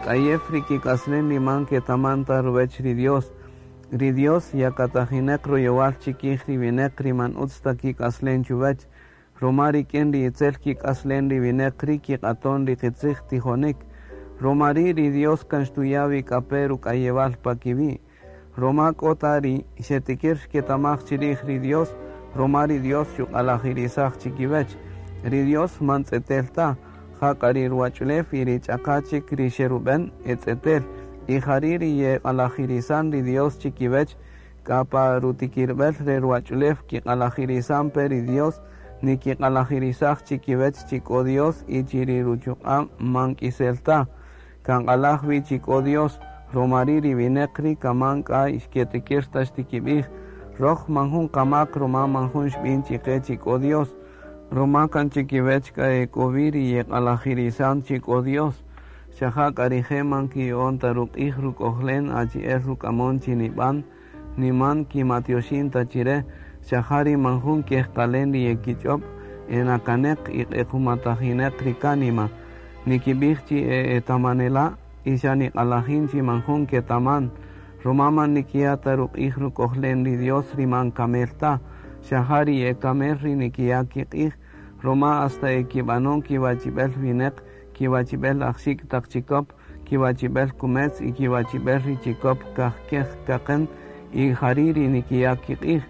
K'ayew ri kik'aslen ri man ketaman ta ruwäch ri Dios. Ri Dios yakatajineq royowal chikij ri wineq ri man utz ta kik'aslen chuwäch. Ruma rik'in ri itzel kik'aslen ri wineq ri kiq'aton ri qitzij tijonik. Ruma ri' ri Dios kan xtuya' wi k'a pe ruk'ayewal pa kiwi'. Ruma k'o ta ri xetikir xketamaj chirij ri Dios, ruma ri Dios xuq'alajirisaj chikiwäch. Ri Dios man tz'etel ta, jak'a ri ruwach'ulew y ri ch'aqa chik ri xerub'en e tz'etel. Y jari' ri yeq'alajirisan ri Dios chikiwäch, k'a pa rutikirb'el re ruwach'ulew kiq'alajirisan pe ri Dios, nikiq'alajirisaj chikiwäch chi k'o Dios y chi ri ruchuq'a' man k'isel ta. Kan q'alaj wi chi k'o Dios, ruma ri' ri wineq ri' kaman k'a xketikir ta xtikib'ij. Röj man jun qamak ruma man jun xb'in chiqe chi k'o Dios. Ruma kan chikiwäch k'a e k'o wi ri yeq'alajirisan chi k'o Dios. Xa ja k'a rije' man kiya'on ta ruq'ij ruk'ojlen achi'el ruk'amon chi nib'an, ni man kimatyoxin ta chire, xa ja ri man jun kejqalen ri yekich'ob' e nakaneq y q'equmatajineq ri kánima. Nikib'ij chi e etamanela' y xa niq'alajin chi man jun ketaman. Ruma man nikiya' ta ruq'ij ruk'ojlen ri Dios ri man kamel ta, xa ja ri e kamel ri nikiya' kiq'ij, ruma hasta e kib'anon kiwachib'el wineq, kiwachib'el ajxik' taq chikop, kiwachib'el kumetz y kiwachib'el ri chikop kajkej kaqen y jari' ri nikiya' kiq'ij.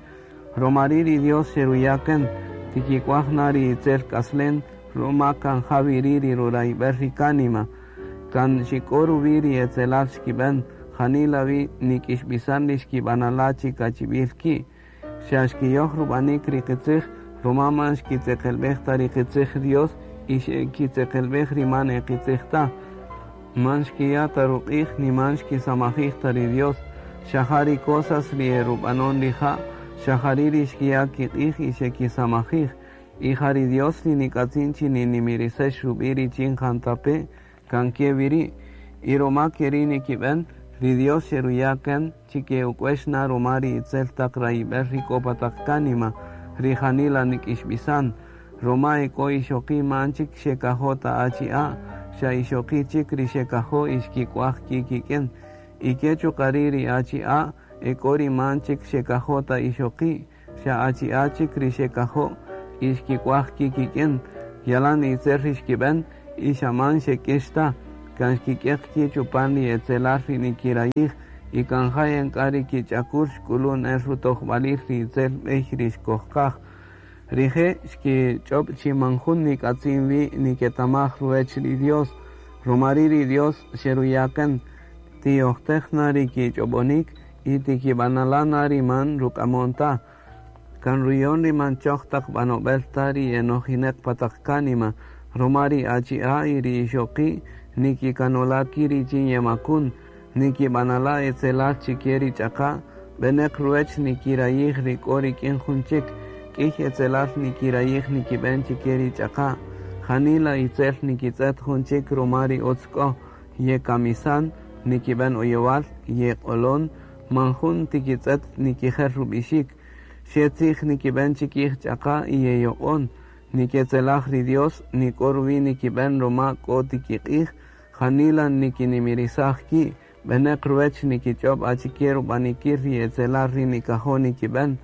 Ruma ri' ri Dios xeruya' kan, tikik'uaj na ri itzel k'aslen, ruma kan ja wi ri' ri rurayb'el ri kánima. Kan xik'o ruwi' ri etzelal xkib'en, janila wi nik'ixb'isan ri xkib'anala' chi kachib'il ki'. Xa xkiyoj rub'anik ri qitzij, ruma man xkitzeqelb'ej ta ri qitzij Dios y xekitzeqelb'ej ri man e qitzij ta. Man xkiya' ta ruq'ij ni man xkisamajij ta ri Dios. Xa ja ri cosas ri e rub'anon rija', xa jari' ri xkiya' kiq'ij y xekisamajij. Y ja ri Dios ri nik'atzin chi ninimirisex rub'i' richin jantape' kan ke wi ri'. Y ruma ke ri' nikib'en, ri Dios xeruya' kan chi ke'uk'uex na ruma ri itzel taq rayib'el ri k'o pa taq kánima, ri janila nik'ixb'isan. Ruma e k'o ixoqi' man chik xekajo' ta achi'a', xa ixoqi' chik ri xekajo' y xkik'uaj ki' kik'in. Y ke chuqa' ri' ri achi'a' e k'o ri man chik xekajo' ta ixoqi', xa achi'a' chik ri xekajo' y xkik'uaj ki' kik'in. Yalan itzel ri xkib'en y xa man xek'ix ta, kan xkik'eq ki' chupan ri etzelal ri nikirayij y kan ja yan k'a ri kich'akul xk'ulun el rutojb'alil ri itzel b'ey ri xkojqaj. Rije' xkich'ob' chi man jun nik'atzin wi niketamaj ruwäch ri Dios, ruma ri' ri Dios xeruya' kan, tiyojtej na ri kich'ob'onik y tikib'anala' na ri man ruk'amon ta. Kan ruyon ri man choj taq b'anob'el ta ri enojineq pa taq kánima, ruma ri achi'a' y ri ixoqi' nikikanola' ki' richin yemakun, nikib'anala' etzelal chike ri ch'aqa', b'eneq ruwäch nikirayij ri k'o rik'in jun chik, k'iy etzelal nikirayij nikib'en chike ri ch'aqa', janila itzel nikitz'et jun chik ruma ri utz k'o, yekamisan, nikib'en oyowal, yeq'olon, man jun tikitz'et nikijel rub'ixik, xe tzij nikib'en chikij ch'aqa' y yeyoq'on, niketzelaj ri Dios, nik'o ruwi' nikib'en ruma k'o tikiq'ij, janila nikinimirisaj ki', b'eneq ruwäch nikich'ob' achike rub'anikil ri etzelal ri nikajo' nikib'en,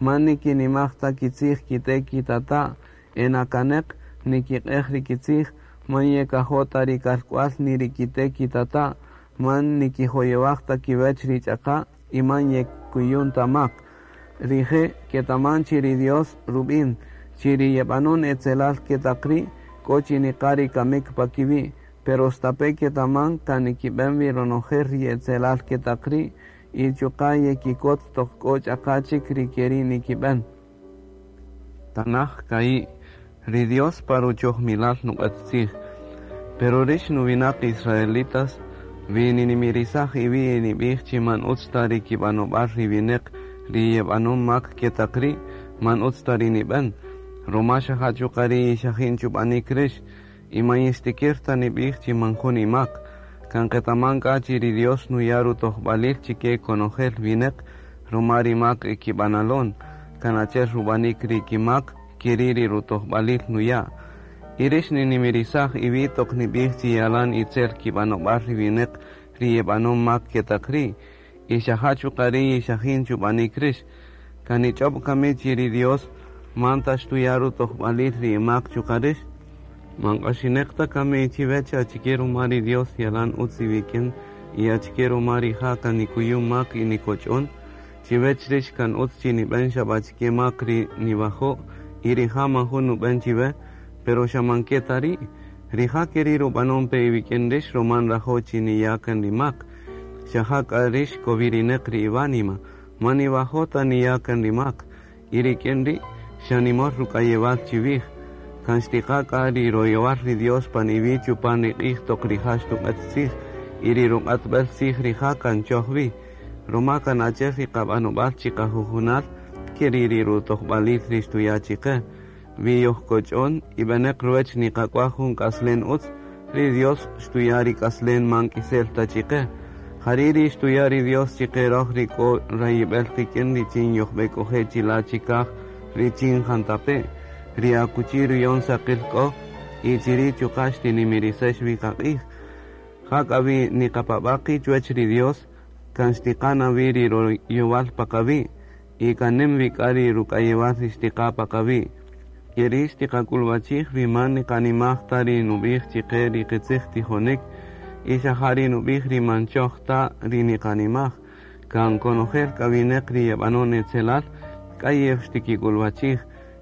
man nikinimaj ta kitzij kite' kitata', e nakaneq nikiq'ej ri kitzij, man yekajo' ta ri kalk'wal ni ri kite' kitata', man nikijoyowaj ta kiwäch ri ch'aqa' y man yekuyun ta mak. Rije' ketaman chi ri Dios rub'in, chi ri yeb'anon etzelal ketaq ri' k'o chi niqa ri kamik pa kiwi', pero stape' ketaman kan nikib'en wi ronojel ri etzelal ketaq ri' y chuqa' yekikot toq k'o ch'aqa chik ri ke ri' nikib'en. Tanaj ka'i', ri Dios pa ruchojmilal nuq'at tzij. Pero rix nuwinaq israelitas, wi ninimirisaj iwi' y nib'ij chi man utz ta ri kib'anob'al ri wineq ri yeb'anon mak ketaq ri', man utz ta ri nib'en. Ruma xa ja chuqa' ri ixajin chub'anik rix, y man yixtikir ta nib'ij chi man jun imak. Kan qetaman k'a chi ri Dios nuya' rutojb'alil chike konojel wineq ruma ri mak e kib'analon, kan achi'el rub'anik ri kimak, ke ri' ri rutojb'alil nuya'. Y rix ninimirisaj iwi' toq nib'ij chi yalan itzel kib'anob'al ri wineq ri yeb'anon mak ketaq ri', y xa ja chuqa' ri' yixajin chub'anik rix. Kan nich'ob' kami chi ri Dios man ta xtuya' rutojb'alil ri imak chuqa' rix? Man q'axineq ta kami chiwech achike ruma ri Dios yalan utz iwik'in y achike ruma rija' kan nikuyu mak y nikoch'on? Chiwech rix kan utz chi nib'en xa b'a achike mak ri niwajo' y rija' man jun nub'en chiwe, pero xa man ke ta ri'. Rija' keri' rub'anon pe iwik'in rix ruma nrajo' chi niya' kan ri mak. Xa ja k'a rix kowirineq ri iwánima, man niwajo' ta niya' kan ri mak, y rik'in ri' xa nimol ruk'ayewal chiwij. Kan xtiqa' k'a ri royowal ri Dios pan iwi' chupan ri q'ij toq rija' xtuq'et tzij, y ri ruq'atb'el tzij rija' kan choj wi. Ruma kan achi'el ri qab'anob'al chiqajujunal, keri' ri rutojb'alil ri xtuya' chiqe. Wi yojkoch'on y b'eneq ruwech niqak'waj jun k'aslen utz, ri Dios xtuya' ri k'aslen man k'isel ta chiqe. Jari' ri xtuya' ri Dios chiqe roj ri k'o rayib'el qik'in richin yojb'ek'oje' chila' chikaj richin jantape', ri akuchi ruyon saqil k'o, y chiri' chuqa' xtinimirisex wi qaq'ij. Jak'a wi niqapab'a' qi' chuwech ri Dios, kan xtiqa' na wi ri royowal pa qawi', y kan nim wi k'a ri ruk'ayewal ri xtiqa' pa qawi'. Keri' xtiqak'ulwachij wi man niqanimaj ta ri nub'ij chiqe ri qitzij tijonik, y xa ja ri nub'ij ri man choj ta ri niqanimaj. Kan konojel k'a wineq ri yeb'anon etzelal, k'ayew xtikik'ulwachij,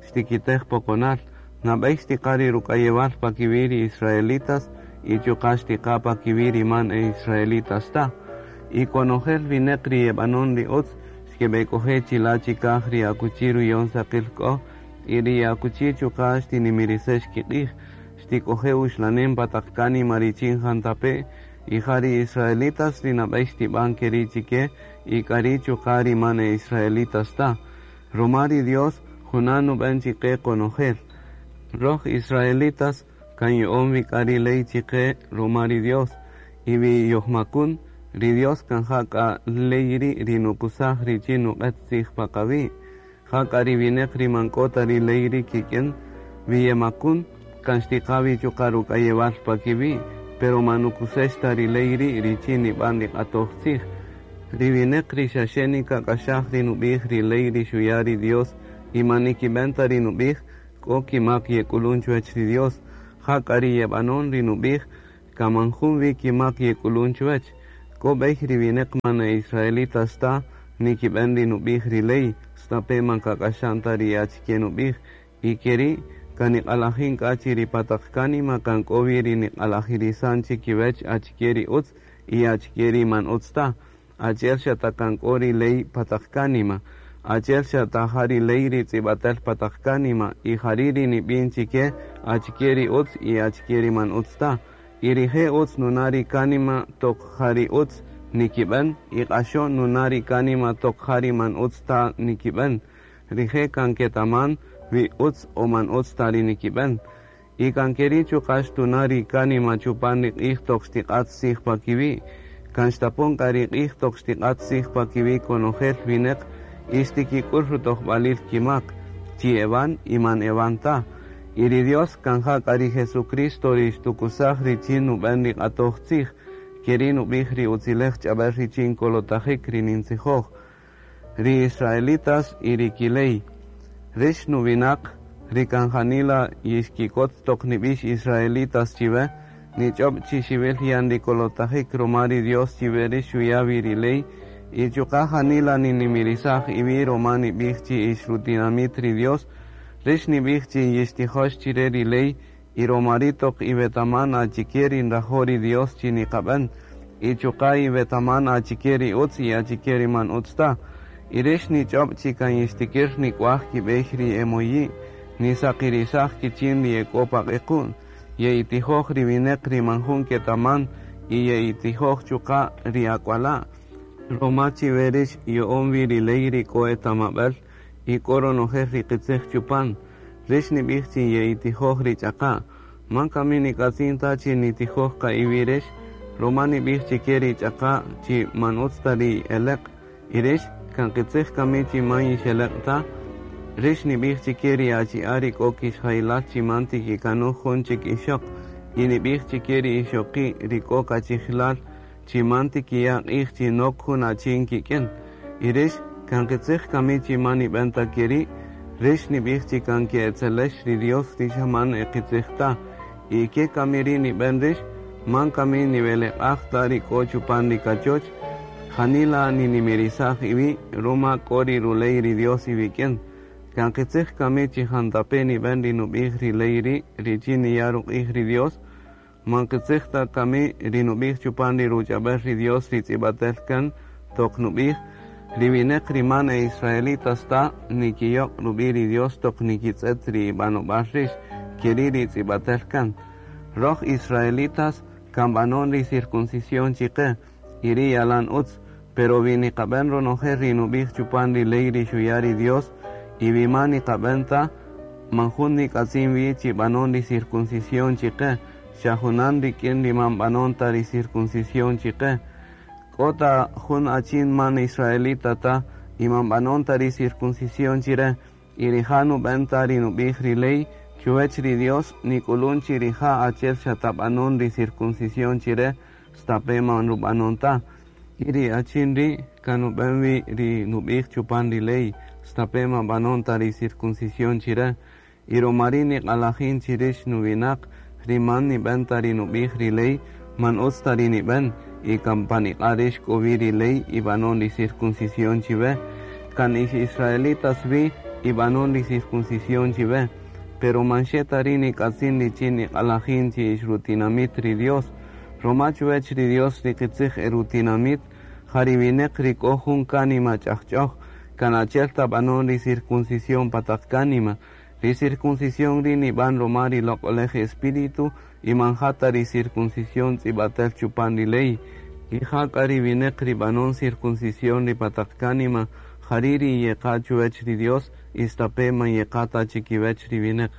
xtikitej poqonal. Nab'ey xtiqa' ri ruk'ayewal pa kiwi' ri israelitas y chuqa' xtiqa' pa kiwi' ri man e israelitas ta. Y konojel wineq ri yeb'anon ri utz, xkeb'ek'oje' chila' chikaj ri akuchi ruyon saqil k'o, y ri akuchi chuqa' xtinimirisex kiq'ij, xtik'oje' uxlanem pa taq kánima richin jantape', y ja ri israelitas ri nab'ey xtib'an keri' chike, y k'ari' chuqa' ri man e israelitas ta. Ruma ri Dios junan nub'en chiqe konojel. Roj israelitas kan yo'on wi k'a ri ley chiqe ruma ri Dios, y wi yojmakun, ri Dios kan ja k'a ley ri' ri nukusaj richin nuq'et tzij pa qawi'. Ja k'a ri wineq ri man k'o ta ri ley ri' kik'in, wi yemakun, kan xtiqa' wi chuqa' ruk'ayewal pa kiwi', pero man nukusex ta ri ley ri' richin nib'an ri q'atoj tzij. Ri wineq ri xaxe nikak'axaj ri nub'ij ri ley ri xuya' ri Dios y man nikib'en ta ri nub'ij, k'o kimak yek'ulun chuwech ri Dios. Ja k'a ri yeb'anon ri nub'ij, kan man jun wi kimak yek'ulun chuwech. K'o b'ey ri wineq man e israelitas ta nikib'en ri nub'ij ri ley, stape' man kak'axan ta ri achike nub'ij, y keri' kan niq'alajin k'a chi ri pa taq kánima kan k'o wi ri niq'alajirisan chikiwech achike ri utz y achike ri man utz ta. Achi'el xa ta kan k'o ri ley pa taq kánima, achi'el xa ta ja ri ley ri tz'ib'atel pa taq kánima, y jari' ri nib'in chike achike ri utz y achike ri man utz ta. Y rije' utz nuna' ri kánima toq ja ri utz nikib'en, y q'axo'n nuna' ri kánima toq ja ri man utz ta nikib'en. Rije' kan ketaman wi utz o man utz ta ri nikib'en. Y kan keri' chuqa' xtuna' ri kánima chupan ri q'ij toq xtiq'at tzij pa kiwi'. Kan xtapon k'a ri q'ij toq xtiq'at tzij pa kiwi' konojel wineq y xtikik'ul rutojb'alil kimak, chi ewan y man ewan ta. Y ri Dios kan ja k'a ri Jesucristo ri xtukusaj richin nub'en ri q'atoj tzij, keri' nub'ij ri utzilej ch'ab'el richin kolotajik ri nintzijoj. Ri israelitas y ri kiley. Rix nuwinaq, ri kan janila yixkikot toq nib'ix israelitas chiwe, nich'ob' chi xiwil yan ri kolotajik ruma ri Dios chiwe rix xuya' wi ri ley, y chuqa' janila ninimirisaj iwi' ruma nib'ij chi ix rutinamit ri Dios, rix nib'ij chi yixtijox chire ri ley, y ruma ri' toq iwetaman achike ri nrajo' ri Dios chi niqab'en, y chuqa' iwetaman achike ri utz y achike ri man utz ta. Y rix nich'ob' chi kan yixtikir nik'waj kib'ey ri emoyi', nisaqirisaj kichin ri ek'o pa q'equ'm, ye'itijoj ri wineq ri man jun ketaman, y ye'itijoj chuqa' ri ak'wala'. Ruma chiwe rix yo'on wi ri ley ri k'o etamab'el y k'o ronojel ri qitzij chupan. Rix nib'ij chi ye'itijoj ri ch'aqa'. Man kami nik'atzin ta chi nitijoj qa iwi' rix, ruma nib'ij chike ri ch'aqa' chi man utz ta ri eleq'. Y rix kan qitzij kami chi man yixeleq' ta. Rix nib'ij chike ri achi'a' ri k'o kixjaylal chi man tikikanuj jun chik ixöq, y nib'ij chike ri ixoqi' ri k'o kachijilal chi man tikiya' q'ij chi nok jun achin kik'in. Y rix kan qitzij kami chi man nib'en ta ke ri'? Rix nib'ij chi kan ke'etzelex ri Dios ri xa man e qitzij ta. Y ke kami ri' nib'en rix? Man kami niweleq'aj ta ri k'o chupan ri kachoch? Janila ninimirisaj iwi' ruma k'o ri ruley ri Dios iwik'in. Kan qitzij kami chi jantape' nib'en ri nub'ij ri ley ri' richin niya' ruq'ij ri Dios? Man qitzij ta kami ri nub'ij chupan ri ruch'ab'äl ri Dios ri tz'ib'atel kan toq nub'ij, Ri wineq ri man e israelitas ta nikiyoq' rub'i' ri Dios toq nikitz'et ri ib'anob'al rix, keri' ri tz'ib'atel kan. Roj israelitas kan b'anon ri circuncisión chiqe, y ri' yalan utz, pero wi niqab'en ronojel ri nub'ij chupan ri ley ri xuya' ri Dios, y wi man niqab'en ta, man jun nik'atzin wi chi b'anon ri circuncisión chiqe, xa junan rik'in ri man b'anon ta ri circuncisión chiqe. K'o ta jun achin man israelita ta y man b'anon ta ri circuncisión chire, y rija' nub'en ta ri nub'ij ri ley, chuwech ri Dios nik'ulun chi rija' achi'el xa ta b'anon ri circuncisión chire, stape' man rub'anon ta. Y ri achin ri' kan nub'en wi ri nub'ij chupan ri ley, stape' man b'anon ta ri circuncisión chire. Y ruma ri' niq'alajin chi rix nuwinaq ri man nib'en ta ri nub'ij ri ley, man utz ta ri nib'en, y kan pan iq'a' rix k'o wi ri ley y b'anon ri circuncisión chiwe. Kan ix israelitas wi y b'anon ri circuncisión chiwe. Pero man xe ta ri' nik'atzin richin niq'alajin chi ix rutinamit ri Dios. Ruma chuwech ri Dios ri qitzij e rutinamit, ja ri wineq ri k'o jun kánima ch'ajch'oj, kan achi'el ta b'anon ri circuncisión pa taq kánima. Ri circuncisión ri' nib'an ruma ri loq'olej Espíritu y man ja ta ri circuncisión tz'ib'atel chupan ri ley. Y ja k'a ri wineq ri b'anon circuncisión ri pa taq kánima, jari' ri yeqa' chuwech ri Dios, y stape' man yeqa' ta chikiwech ri wineq.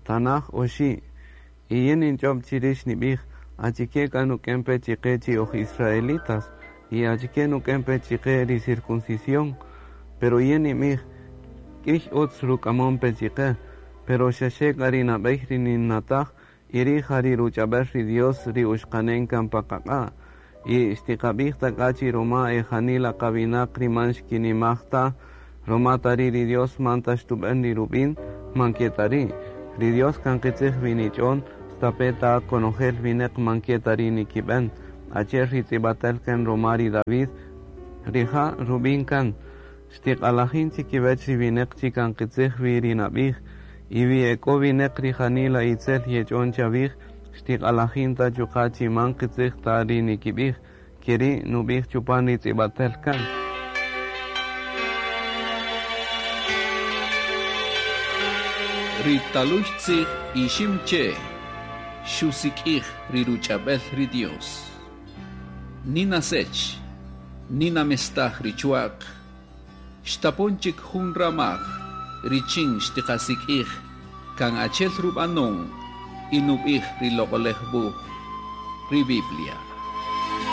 Tanaj oxi'. Y yin ninch'ob' chi rix nib'ij, achike k'a nuk'en pe chiqe chi oj israelitas, y achike nuk'en pe chiqe ri circuncisión. Pero yin nib'ij, k'ïy utz ruk'amon pe chiqe, pero xaxe k'a ri nab'ey ri ninnataj, y ri' ja ri ruch'ab'äl ri Dios ri uxqanen kan pa qaq'a'. Y xtiqab'ij ta k'a chi ruma e janila qawinaq ri man xkinimaj ta, ruma ta ri' ri Dios man ta xtub'en ri rub'in, man ke ta ri'. Ri Dios kan qitzij wi nich'on, stape' ta konojel wineq man ke ta ri' nikib'en. Achi'el ri tz'ib'atel kan ruma ri David, rija' rub'in kan, xtiq'alajin chikiwech ri wineq chi kan qitzij wi ri nab'ij, y wi e k'o wineq ri janila itzel yech'on chawij, xtiq'alajin ta chuqa' chi man qitzij ta ri nikib'ij, keri' nub'ij chupan ri tz'ib'atel kan. Ri talux tzij Iximche' xusik'ij ri ruch'ab'el ri Dios. Nina sech, nina mestaj ri chwa'q, xtapon chik jun ramaj richin xtiqasik'ij kan achi'el rub'anon y nub'ij ri loq'olej wuj, ri Biblia.